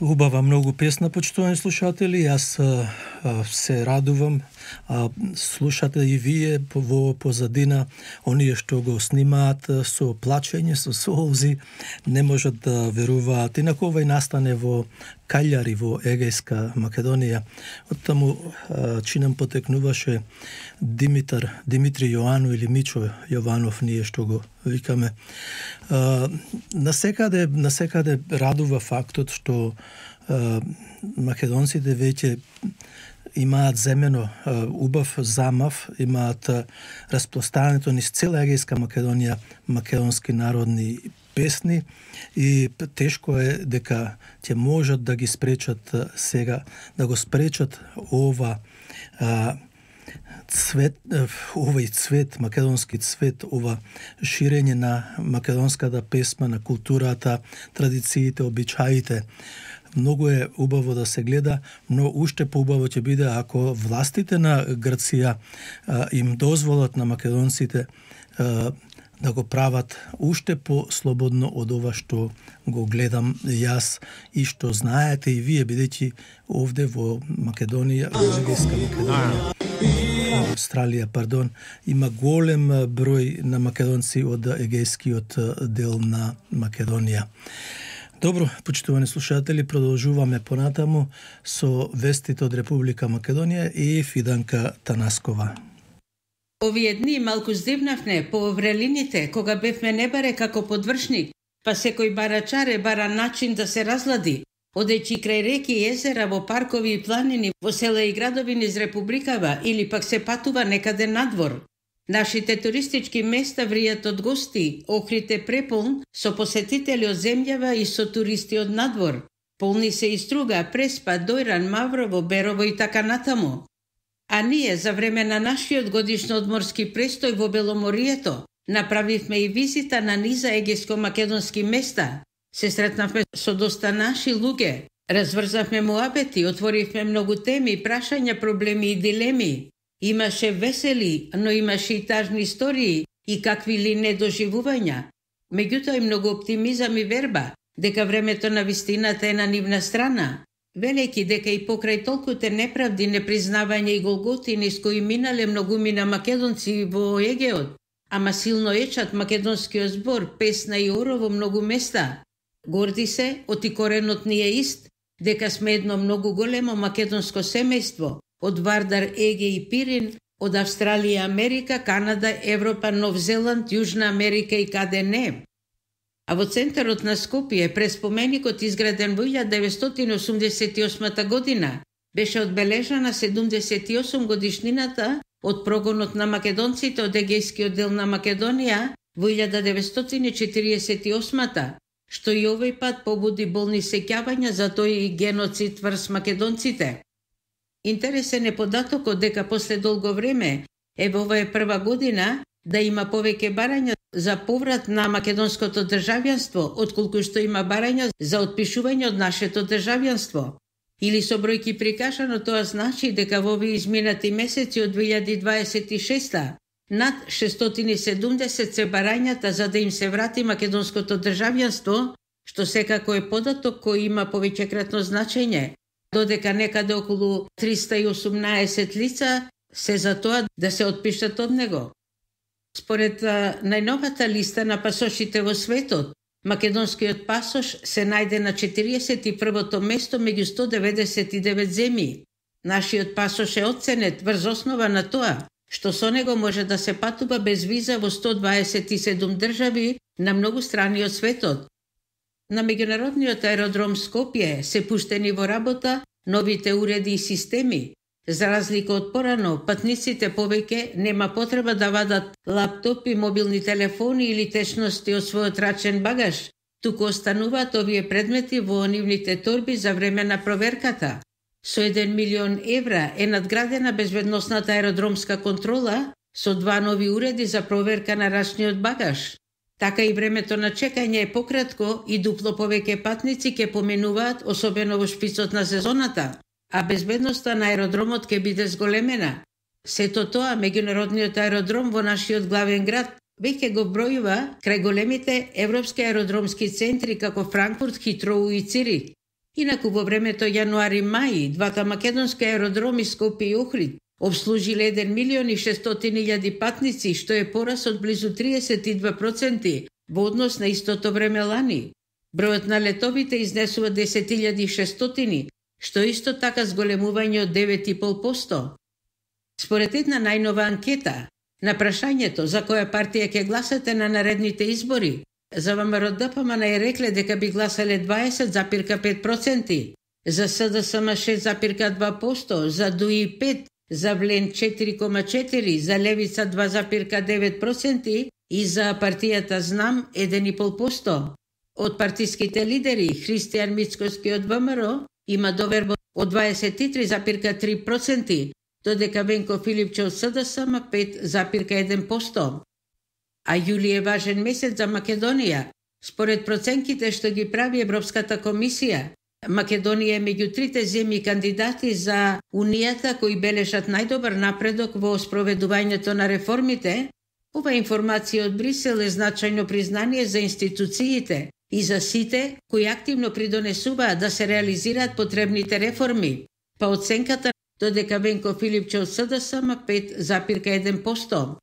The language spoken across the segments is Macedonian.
Убава многу песна, почитувани слушатели. Јас се радувам. Слушате и вие во позадина оние што го снимаат со плачење, со солзи, не можат да веруваат. Инаку овај настане во Каљари, во Егејска Македонија. Оттаму чинам потекнуваше Димитри Јоано или Мичо Јованов, ние што го викаме. Насекаде радува фактот што македонците веќе имаат земено убав замав, имаат распространето низ цела Егејска Македонија македонски народни песни и тешко е дека ќе можат да ги спречат сега, да го спречат овој цвет, македонски цвет, ова ширење на македонската песма, на културата, традициите, обичаите. Многу е убаво да се гледа, но уште поубаво ќе биде ако властите на Грција им дозволат на македонците да го прават уште по-слободно од ова што го гледам јас и што знаете и вие, бидејќи овде во Македонија, во Егејска Македонија, Австралија, има голем број на македонци од егејскиот дел на Македонија. Добро, почитувани слушатели, продолжуваме понатаму со вестите од Република Македонија и Фиданка Танаскова. Овие дни малку здивнавме по врелините, кога бевме небаре како подвршник, па секој барачаре бара начин да се разлади, одејќи крај реки и езера, во паркови и планини, во села и градови низ Републикава или пак се патува некаде надвор. Нашите туристички места вријат од гости, Охрид е преполн со посетители од земјава и со туристи од надвор. Полни се и Струга, Преспа, Дојран, Маврово, Берово и така натаму. А ние за време на нашиот годишно одморски престој во Беломорието направивме и визита на низа егејско-македонски места. Се сретнавме со доста наши луѓе, разврзавме муабети, отворивме многу теми, прашања, проблеми и дилеми. Имаше весели, но имаше и тажни истории и какви ли недоживувања. Меѓутоа и многу оптимизам и верба дека времето на вистината е на нивна страна, велејќи дека и покрај толкуте неправди, непризнавање и голготи низ кои минале многумина македонци во Егеот, ама силно ечат македонскиот збор, песна и оро во многу места. Горди се, оти коренот ни е ист, дека сме едно многу големо македонско семејство, од Вардар, Еге и Пирин, од Австралија, Америка, Канада, Европа, Нов Зеланд, Јужна Америка и каде не. А во центарот на Скопје, пред споменикот изграден во 1988 година, беше одбележана 78 годишнината од прогонот на македонците од Егејскиот дел на Македонија во 1948, што и овој пат побуди болни сеќавања за тој геноцид врз македонците. Интересен е податокот дека после долго време, ова е прва година, да има повеќе барања за поврат на македонското државјанство, отколку што има барања за отпишување од нашето државјанство. Или со бројки прикажано, тоа значи дека во овие изминати месеци од 2026 над 670 се барањата за да им се врати македонското државјанство, што секако е податок кој има повеќекратно значење, додека некаде околу 318 лица се за тоа да се отпишат од него. Според најновата листа на пасошите во светот, македонскиот пасош се најде на 41-то место меѓу 199 земји. Нашиот пасош е оценет врз основа на тоа што со него може да се патува без виза во 127 држави на многу страни од светот. На меѓународниот аеродром Скопје се пуштени во работа новите уреди и системи. За разлика од порано, патниците повеќе нема потреба да вадат лаптопи, мобилни телефони или течности од својот рачен багаж, туку остануваат овие предмети во нивните торби за време на проверката. Со 1 милион евра е надградена безбедносната аеродромска контрола со 2 нови уреди за проверка на рачниот багаж. Така и времето на чекање е пократко и дупло повеќе патници ќе поминуваат, особено во шпицот на сезоната, а безбедноста на аеродромот ќе биде зголемена. Сето тоа, меѓународниот аеродром во нашиот главен град веќе го бројува крај големите европски аеродромски центри како Франкфурт, Хитроу и Цирих. Инаку во времето јануари-мај, двата македонски аеродроми Скопје и Охрид обслужиле 1.600.000 патници, што е порас од близу 32% во однос на истото време лани. Бројот на летовите изнесува 10.600, што исто така зголемување од 9,5%. Според една најнова анкета, на прашањето за која партија ќе гласате на наредните избори, за ВМРО-ДПМН е рекле дека би гласале 20,5%, за СДСМ 6,2%, за ДУИ 5%, за Влен 4,4%, за Левица 2,9% и за партијата Знам 1,5%. Од партиските лидери, Христијан Мицкоски од ВМРО има доверба од 23,3%, додека Венко Филипче од СДСМ 5,1%. А јули е важен месец за Македонија. Според проценките што ги прави Европската комисија, Македонија е меѓу трите земји кандидати за Унијата кои бележат најдобар напредок во спроведувањето на реформите. Ова информација од Брисел е значајно признание за институциите и за сите кои активно придонесуваат да се реализираат потребните реформи. Па оценката додека Венко Филипче од СДСМ 5,1%.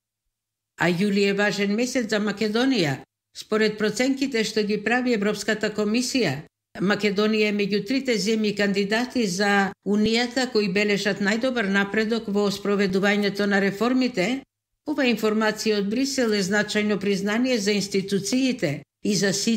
А јули е важен месец за Македонија. Според проценките што ги прави Европската комисија, Македонија е меѓу трите земји кандидати за Унијата кои бележат најдобар напредок во спроведувањето на реформите. Ова информација од Брисел е значајно признание за институциите и за сите